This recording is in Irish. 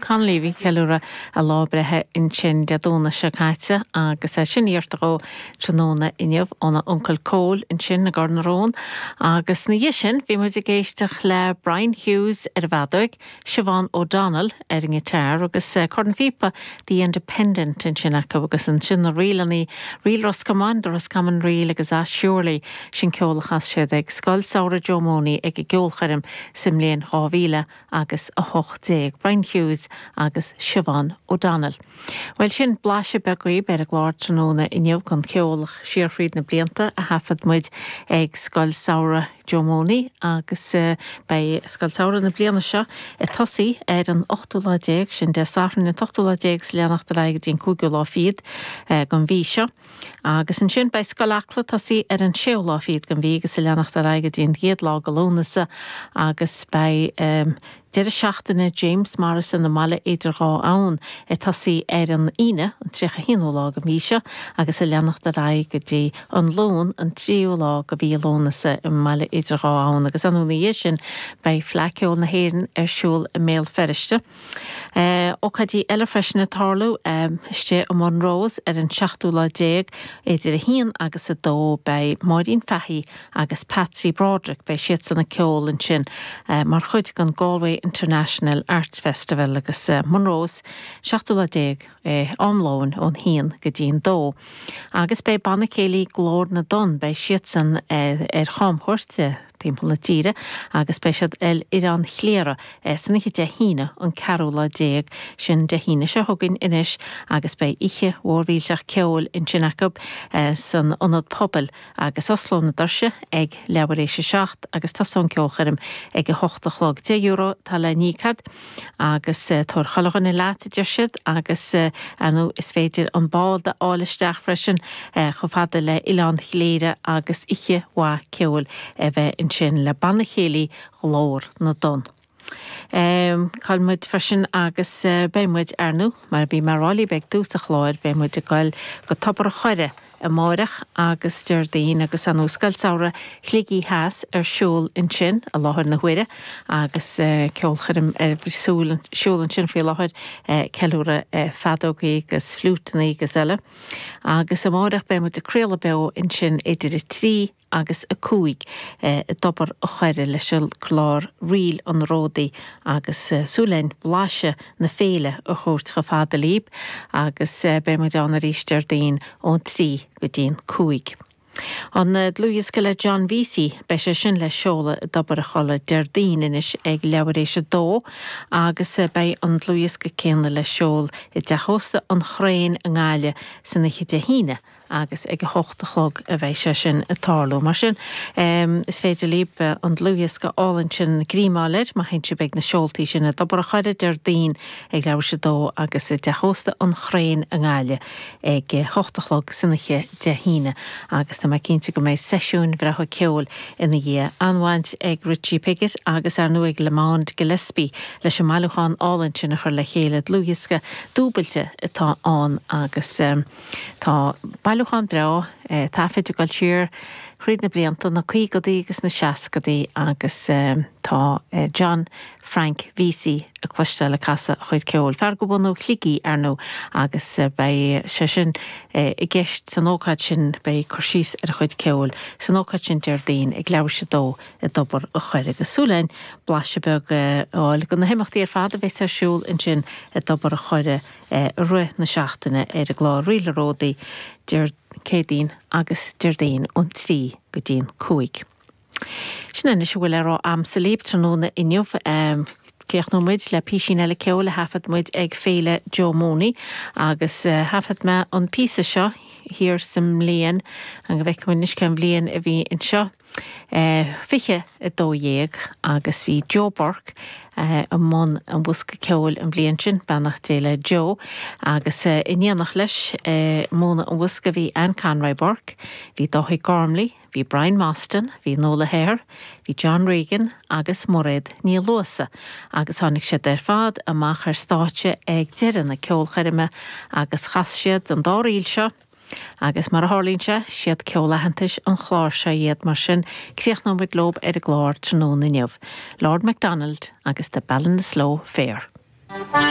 Connolly a bhí ag ceiliúradh a lá breithe ansin Dé Domhnaigh seo caite agus sin iarrta dhó tráthnóna inniu óna uncail Cóil ansin i gCor na Rón. Agus ina dhiaidh sin bhí muid ag éisteacht le Brian Hughes ar an bhfeadóig, Siobhán O'Donnell ar an ngiotár agus cornphíopa The Independent ansin acu agus ansin na ríleanna, Ríl Ros Comáin, The Roscommon Reel agus Ah Surely, sin ceol a chas siad ag Scoil Samhraidh Joe Mooney ag a gceolchoirm sa mbliain 2000 agus 18, Brian Hughes agus Siobhán O'Donnell. Bhuel sin blaiseadh beag dhaoib ar an gclár tráthnóna inniu den cheol siar thríd na blianta a thaifead muid ag Scoil Samhraidh Joe Mooney agus beidh Scoil Samhraidh na bliana seo ag tosaí ar an ochtú lá déag, sin Dé Sathairn an t-ochtú lá déag is ag leanacht ar aghaidh go dtí an cúigiú lá fichead den mhí seo. Agus ansin beidh Scoil Acla ag tosaí ar an séú lá fichead den mhí agus ag leanacht ar aghaidh go dtí an gcéad lá de Lúnasa agus beidh deireadh seachtaine James Morrison i mBaile Idir Dhá Abhainn ag tosaí ar an Aoine an 31ú lá den mhí seo agus ag leanacht ar aghaidh go dtí an Luan an 3ú lá de mhí Lúnasa i mBaile Idir Dhá Abhainn agus ar ndóigh ina dhiaidh sin beidh Fleadh Ceoil na hÉireann ar siúl i mBéal Feirste. Ócáidí eile freisin ag tarlú istigh i Monroe's ar an seachtú lá déag idir 1 agus 2 beidh Máirín Fahy agus Patsy Broderick, beidh siadsan ag ceol ansin mar chuid den Galway International Arts Festival agus Monroe's, seachtú lá déag am lóin ón haon go dtí'n dó. Agus beidh Banna Céilí Glór na dTonn, beidh siadsan ar chamchuairt timpeall na tíre agus beidh siad ar Oileán Chléire san oíche Dé hAoine an ceathrú lá déag, sin Dé hAoine seo chugainn anois agus beidh oíche mhór mhillteach ceoil ansin acu san Ionad Pobail agus osclóidh na doirse ag leathuair éis a 7 agus tosóidh an ceolchoirm ag 8 a chlog. €10 atá le n-íoc agat agus tabhair chuile dhuine leat, a deir siad, agus ar ndóigh is féidir an bád a fháil isteach freisin chomh fada le Oileán Chléire agus oíche mhaith ceoil a bheith ansin le Banna Céilí Ghlór na dTonn. Cá bhfuil muid freisin agus beidh muid, ar ndóigh, mar a bhí mé a rá libh ag tús an chláir, beidh muid ag goil go Tobar an Choire amáireach agus Déardaoin agus ar ndóigh Scoil Samhraidh Shligigh Theas ar siúl ansin i láthair na huaire agus ceolchoirm ar siúl ansin faoi láthair, ceiliúradh feadógaí agus fliúiteanna agus eile. Agus amáireach beidh muid ag craoladh beo ansin idir 3 agus 5 i dTobar a' Choire leis an gclár Ríl an Ródaí agus súil linn blaiseadh na féile a thabhairt chomh fada libh agus beidh muid ann arís Déardaoin ón 3 go dtí'n 5. An dlúthdhiosca le John Vesey, beidh sé sin le seoladh i dTobar a' Choire Déardaoin anois ag leathuair éis a dó agus beidh an dlúthdhiosca céanna le seoladh i dTeach Ósta an Chraein i nGaillimh san oíche Dé hAoine agus ag a hocht a chlog a bheidh sé sin ag tarlú. Mar sin, is féidir libh an dlúthdhiosca álainn sin greim a fháil air má théann sibh ag na seoltaí sin i dTobar a' Choire Déardaoin ag leathuair éis a dó agus i dTeach Ósta an Chraein i nGaillimh ag a hocht a chlog san oíche Dé hAoine agus tá mé cinnte go mbeidh seisiúin bhreátha ceoil ina dhiaidh. An-bhaint ag Richie Piggott agus ar ndóigh ag Lamond Gillespie leis an mbailiúchán álainn sin a chur le chéile, dlúthdhiosca dúbailte atá ann agus. Tá bailiúchán breá taifid ag dul siar thríd na blianta, na caogadaí agus na seascadaí agus tá John Frank Vesey le cloisteáil ag casadh a chuid ceoil. Fear de bhunadh Shligigh, ar ndóigh, agus beidh sé sin i gceist san ócáid sin, beidh cur síos ar a chuid ceoil san ócáid sin Déardaoin ag leathuair éis a dó i dTobar a' Choire. Agus súil againn blaiseadh beag a fháil de na himeachtaí ar fad a bheas ar siúl ansin i dTobar a' Choire i rith na seachtaine ar an gclár Ríl an Ródaí Céadaoin agus Déardaoin ón 3 go dtí an 5. Sin anois a bhfuil le rá a'msa libh tráthnóna inniu. Críochnóidh muid le písín eile ceoil a thaifead muid ag Féile Joe Mooney agus thaifead mé an píosa seo thiar sa mbliain, an go bhfeicfidh muid anois cén bhliain a bhí anseo. 2012 agus bhí Joe Burke i mbun an bhosca ceoil an bhliain sin, beannacht Dé le Joe, agus in éineacht leis i mbun an bhosca bhí Anne Conroy Burke, bhí Dáithí Gormley, bhí Brian Mostyn, bhí Nuala Hehir, bhí John Regan agus Mairéad Ní Luasa agus tháinig siad ar fad amach ar stáitse ag deireadh na ceolchoirme agus chas siad an dá ríl seo, Agus mar a tharlaíonn sé, siad ceol aitheantais an chláir seo iad, mar sin críochnóidh muid leob ar an gclár tráthnóna inniu. Lord MacDonald agus The Ballinasloe Fair.